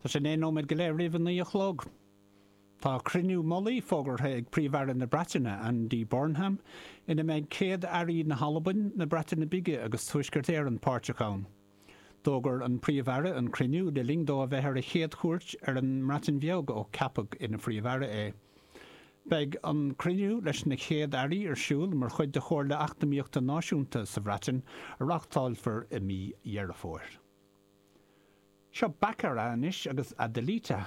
Tá sé 9 nóiméad go leith roimh a 9 a chlog. Tá cruinniú mullaigh fógartha ag Príomh-Aire na Breataine, Andy Burnham, ina mbeidh Céad-Airí na hAlbain, na Breataine Bige agus Tuaisceart Éireann páirteach ann. D'fhógair an Príomh-Aire an cruinniú le linn dó a bheith ar a chéad chuairt ar an mBreatain Bheag ó ceapadh ina Phríomh-Aire é. Beidh an cruinniú leis na Chéad-Airí ar siúl mar chuid de Chomhairle Eacnamaíochta Náisiúnta sa Bhreatain a reáchtálfar i mí Dheireadh Fómhair. Seo Baccara anois agus Adelita.